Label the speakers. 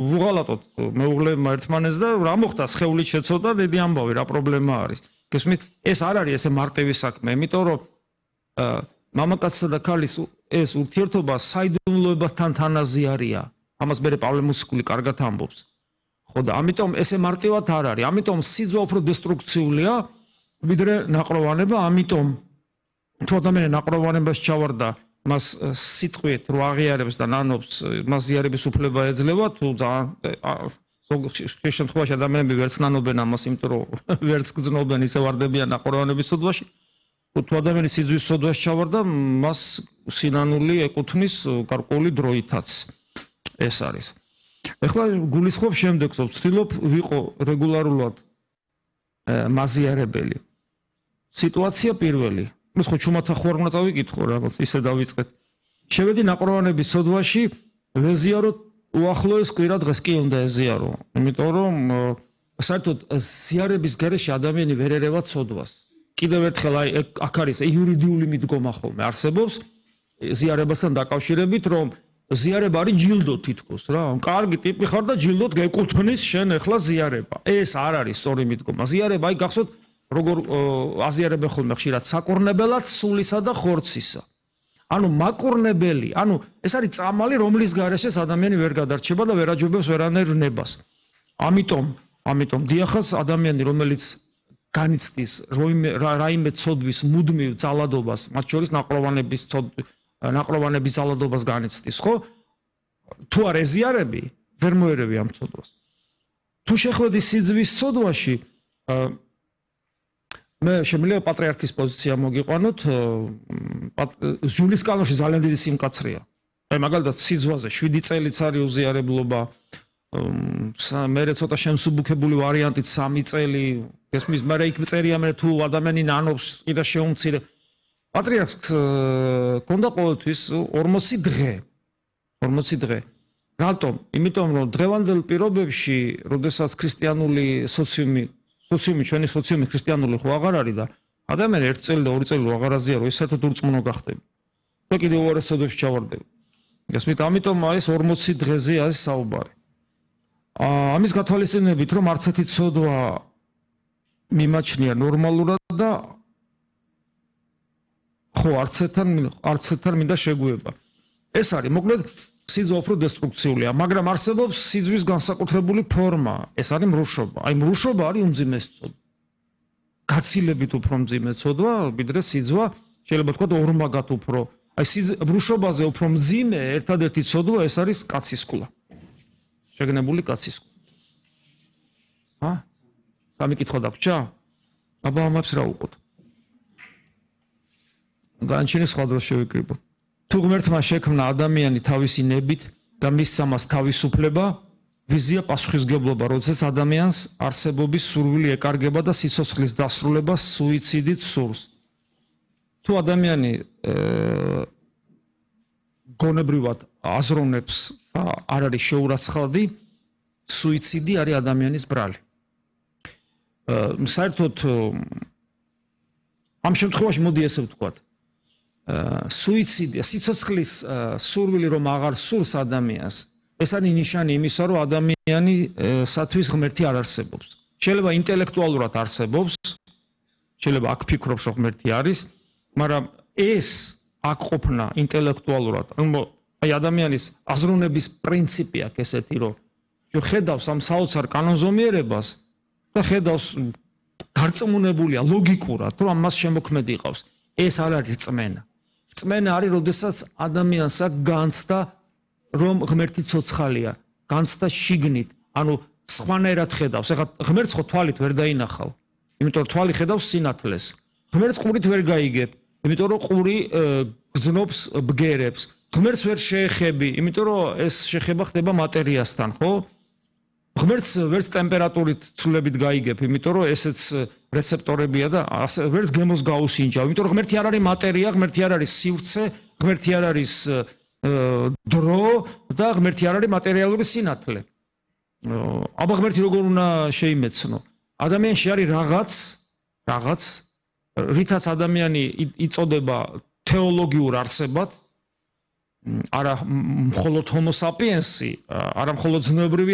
Speaker 1: ვუღალატოთ მეუღლეებმა ერთმანეთს და რა მოხდა სხეულით შეცოდა დიდი ამბავი რა პრობლემა არის გესმით ეს არ არის ესე მარტივი საქმე იმიტომ რომ მამაკაცსა და ქალის ეს ურთიერთობა საიდუმლოებასთან თანაზიარია ამას მე პავლე მუსიკული კარგად ამბობს ხო და ამიტომ ესე მარტივად არ არის ამიტომ სიძვა უფრო დესტრუქციულია ვიდრე ნაყროვანება ამიტომ თუ ადამიანი ნაყროვანებას ჩავარდა მას სიტყვით რო აღიარებს და ნანობს მას ზიარების უფლება ეძლევა თუ ზოგ შემთხვევაში ადამიანები ვერც ნანობენ ამას იმიტომ რომ ვერც გძნობენ ისე ვარდებიან ნაყროვანების სოდვაში თუ ადამიანი სიძვის სოდვაში ჩავარდა მას სინანული ეკუთვნის გარკვეული დროითაც ეს არის ეხლა გულისხმობ შემდეგს ვცდილობ ვიყო რეგულარულად მაზიარებელი სიტუაცია პირველი ეს ხო ჩუმათა ხო არ უნდა წავიკითხო რაღაც ისე დავიწყეთ შევედი ნაყროვანების სოდვაში ვეზიარო უახლოეს კვირა დღეს კი უნდა ეზიარო იმიტომ რომ საერთოდ ზიარების გარეშე ადამიანი ვერ ერევა სოდვას კიდევ ერთხელ აი აქ არის იურიდიული მიდგომა ხოლმე არსებობს ზიარებასთან დაკავშირებით რომ ზიარება არის ჯილდო თითქოს რა კარგი ტიპი ხარ და ჯილდოდ გეკუთვნის შენ ახლა ზიარება ეს არ არის სწორი მიდგომა ზიარება აი გახსოვთ როგორ აზიარებენ ხოლმე ხშირად საკურნებელად სულისა და ხორცისა ანუ მაკურნებელი ანუ ეს არის წამალი რომლის გარეშეც ადამიანი ვერ გადარჩება და ვერ აჯობებს ვერანაირ ნებას ამიტომ დიახაც ადამიანი რომელიც განიცდის რაიმე ცოდვის მუდმივ ძალადობას მათ შორის ნაყროვანების ძალადობას განიცდის ხო თუ არ ეზიარები ვერ მოერევი ამ ცოდვას თუ შეხვედი სიძვის ცოდვაში მე შემიძლია პატრიარქის პოზიცია მოგიყვანოთ ჯულის კანონში ძალიან დიდი სიმკაცრეა აი მაგალითად სიძვაზე 7 წელიც არის უზიარებლობა მე ცოტა შემსუბუქებული ვარიანტით 3 წელი ესმის მე იქ წერია მე თუ ადამიანი ნანობს კიდე შეუმცირე პატრიარქს კონდა ყოველთვის 40 დღე რატომ იმიტომ რომ დღევანდელ პირობებში როდესაც ქრისტიანული სოციუმი ჩვენი სოციუმი ქრისტიანული ხო აღარ არის და ადამიანი 1 წელი და 2 წელი აღარ აზიარო ეს საერთოდ ურწმუნო გახდები და კიდე უარეს სოდვებში ჩავარდები გასმით ამიტომ არის 40 დღეზე არის საუბარი ამის გათვალისწინებით რომ არც ერთი ცოდვა მიმაჩნია ნორმალურად და ხო არც ერთთან მინდა შეგვიება ეს არის მოკლედ სიძვა უფრო დესტრუქციულია მაგრამ არსებობს სიძვის განსაკუთრებული ფორმა ეს არის მრუშობა აი მრუშობა არის უმძიმეს ცოდვა გაცილებით უფრო მძიმე ცოდვა ვიდრე სიძვა შეიძლება თქვა ორმაგად უფრო აი მრუშობაზე უფრო მძიმე ერთადერთი ცოდვა ეს არის კაცისკულა შეგნებული კაცისკულა სამი კითხვა დაგვრჩა აბა ამებს რა უყოთ განჩინე სხვა დროს შევიკრიბო თუ ღმერთმა შექმნა ადამიანი თავისი ნებით და მისცა მას თავისუფლება ვიზია პასუხისგებლობა როდესაც ადამიანს არსებობის სურვილი ეკარგება და სიცოცხლის დასრულება სუიციდით სურს თუ ადამიანი გონებრივად აზროვნებს არ არის შეურაცხადი სუიციდი არის ადამიანის ბრალი საერთოდ ამ შემთხვევაში მოდი ესე ვთქვათ სუიციდი სიცოცხლის სურვილი რომ აღარ სურს ადამიანს ეს არის ნიშანი იმისა რომ ადამიანი სათვის ღმერთი არ არსებობს შეიძლება ინტელექტუალურად არსებობს შეიძლება აქ ფიქრობს რომ ღმერთი არის მაგრამ ეს აქ ყოფნა ინტელექტუალურად აი ადამიანის აზროვნების პრინციპი აქვს ესეთი რომ ხედავს ამ საოცარ კანონზომიერებას და ხედავს გარწმუნებულია ლოგიკურად რომ მას შემოქმედი ყავს ეს არ არის რწმენა რწმენა არის როდესაც ადამიანს აქვს განცდა რომ ღმერთი ცოცხალია განცდა შიგნით ანუ სხვანაირად ხედავს ეხლა ღმერთს ხო თვალით ვერ დაინახავ იმიტომ რომ თვალი ხედავს სინათლეს ღმერთს ყურით ვერ გაიგებ იმიტომ რომ ყური გრძნობს ბგერებს ღმერთს ვერ შეეხები იმიტომ რომ ეს შეხება ხდება მატერიასთან ხო ღმერთს ვერც ტემპერატურით ცვლილებით გაიგებ იმიტომ რომ ესეც რეცეპტორებია და ვერც გემოს გაუსინჯავ იმიტომ რომ ღმერთი არ არის მატერია ღმერთი არ არის სივრცე ღმერთი არ არის დრო და ღმერთი არ არის მატერიალური სინათლე აბა ღმერთი როგორ უნდა შეიმეცნო ადამიანში არის რაღაც რითაც ადამიანი იწოდება თეოლოგიურ არსებად არა მხოლოდ homo sapiens-ი, არა მხოლოდ ზნეობრივი